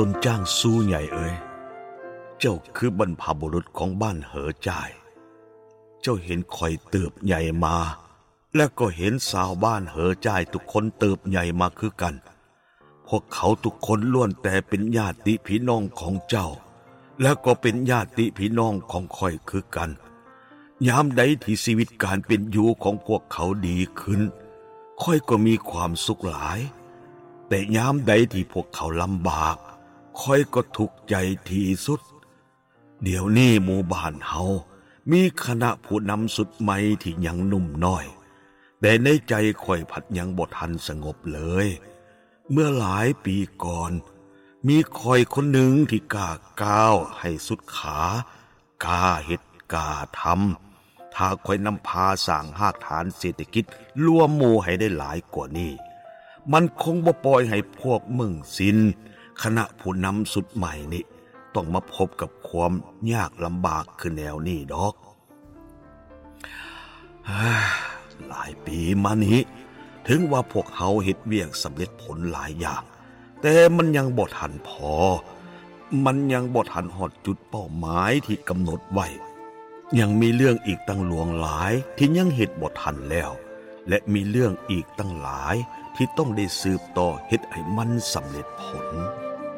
ຕົ້ນຈ້າງຊູໃຫຍ່ເອີຍ, ເຈົ້າຄືບັນພະບຸລຸດຂອງບ້ານເຫີຈ່າຍ. ເຈົ້າເຫັນຂ້ອຍເຕີບໃຫຍ່ມາ ແລະກໍເຫັນຊາວບ້ານເຫີຈ່າຍທຸກຄົນເຕີບໃຫຍ່ມາຄືກັນ. ພວກເຂົາທຸກຄົນລ້ວນແຕ່ເປັນຍາດຕິພີ່ນ້ອງຂອງເຈົ້າ ແລະກໍເປັນຍາດຕິພີ່ນ້ອງຂອງຂ້ອຍຄືກັນ. ຍາມໃດທີ່ຊີວິດການເປັນຢູ່ຂອງພວກເຂົາດີຂຶ້ນ, ຂ້ອຍກໍມີຄວາມສຸກຫຼາຍ, ແຕ່ຍາມໃດທີ່ພວກເຂົາລຳບາກ, ຂ້ອຍກໍທຸກໃຈທີ່ສຸດ. ດຽວນີ້ໝູ່ບ້ານເຮົາມີຄະນະຜູ້ນຳຊຸດໃໝ່ທີ່ຍັງໜຸ່ມນ້ອຍ, ແຕ່ໃນໃຈຂ້ອຍພັດຍັງບໍ່ທັນສະຫງົບເລີຍ. ເມື່ອຫຼາຍປີກ່ອນ, ມີຂ້ອຍຄົນໜຶ່ງທີ່ກ້າກ້າວໃຫ້ສຸດຂາ, ກ້າເຮັດກ້າທຳ. ຖ້າຂ້ອຍນຳພາສ້າງຮາກຖານເສດຖະກິດລວມໝູ່ໃຫ້ໄດ້ຫຼາຍກວ່ານີ້, ມັນຄົງບໍ່ປ່ອຍໃຫ້ພວກເມິງຊິນ, ຄະນະຜູ້ນຳຊຸດໃໝ່ນີ້ ຕ້ອງມາພົບກັບຄວາມຍາກລຳບາກຄືແນວນີ້ດອກ. ຫຼາຍປີມານີ້, ເຖິງວ່າພວກເຮົາເຮັດວຽກສຳເລັດຜົນຫຼາຍຢ່າງ, ແຕ່ມັນຍັງບໍ່ທັນພໍ, ມັນຍັງບໍ່ທັນຮອດຈຸດເປົ້າໝາຍທີ່ກຳນົດໄວ້. ຍັງມີເລື່ອງອີກຕັ້ງຫຼວງຫຼາຍທີ່ຍັງເຮັດບໍ່ທັນແລ້ວ, ແລະ ມີເລື່ອງອີກຕັ້ງຫຼາຍທີ່ຕ້ອງໄດ້ສືບຕໍ່ເຮັດໃຫ້ມັນສຳເລັດຜົນ.